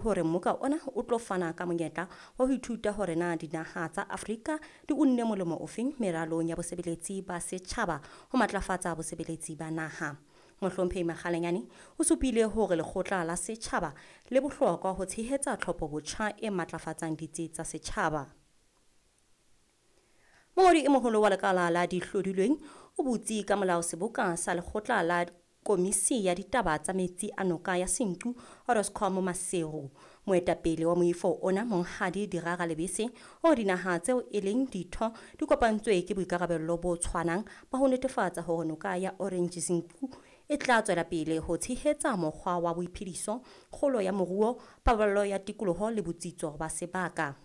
Hore mmoka ona o tlo fana ka monyetla wa ho ithuta hore na dinaha tsa Afrika di unne molemo ofeng meralong ya bosebeletsi ba setjhaba ho matlafatsa bosebeletsi ba naha. Mohlomphehi Makgalenyane o supile hore lekgotla la setjhaba le bohlokwa ho tshehetsa tlhopho botjha e matlafatsang ditsi tsa setjhaba. Mongodi e moholo wa lekala la dihlodilweng o butse ka molao seboka sa lekgotla la Komisi ya ditaba tsa metsi a noka ya Senqu Oroscom Maseru. Moetapele wa moifo ona Monghadi Dirara Lebese o dinaha tseo e leng ditho di kopantswe ke boikarabello bo tshwanang ba ho netefatsa hore noka ya Orange Senqu e tla tswela pele ho tshehetsa mokgwa wa boiphediso, kgolo ya moruo, paballo ya tikoloho le botsitso ba sebaka.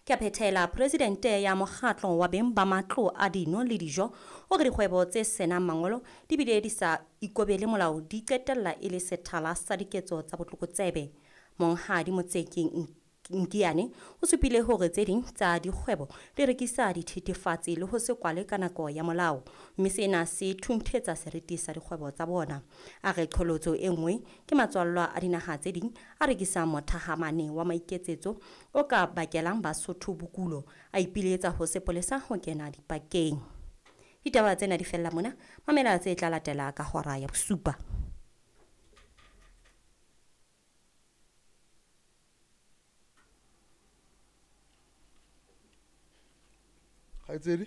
Ke a phethela presidente ya mokgatlo wa beng ba matlo a dino le dijo o re dikgwebo tse senang mangolo di bile di sa ikobele molao di qetella e le sethala sa diketso tsa botlokotsebe. Monghadi Motsekeng Nkiane o supile hore tse ding tsa dikgwebo di rekisa dithethefatsi le ho se kwale ka nako ya molao, mme sena se thunthetsa seriti sa dikgwebo tsa bona. A re qholotso e nngwe ke matswallwa a dinaha tse ding a rekisang mothahamane wa maiketsetso o ka bakelang Basotho bokulo, a ipiletsa ho sepolesa ho kena dipakeng. Ditaba tsena di fella mona, mamela tse tla latela ka hora ya bosupa. Kgaitsedi,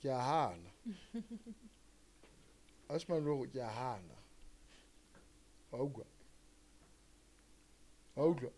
ke a hana. Ausi Maloko, ke a hana. Wa utlwa? Wa utlwa?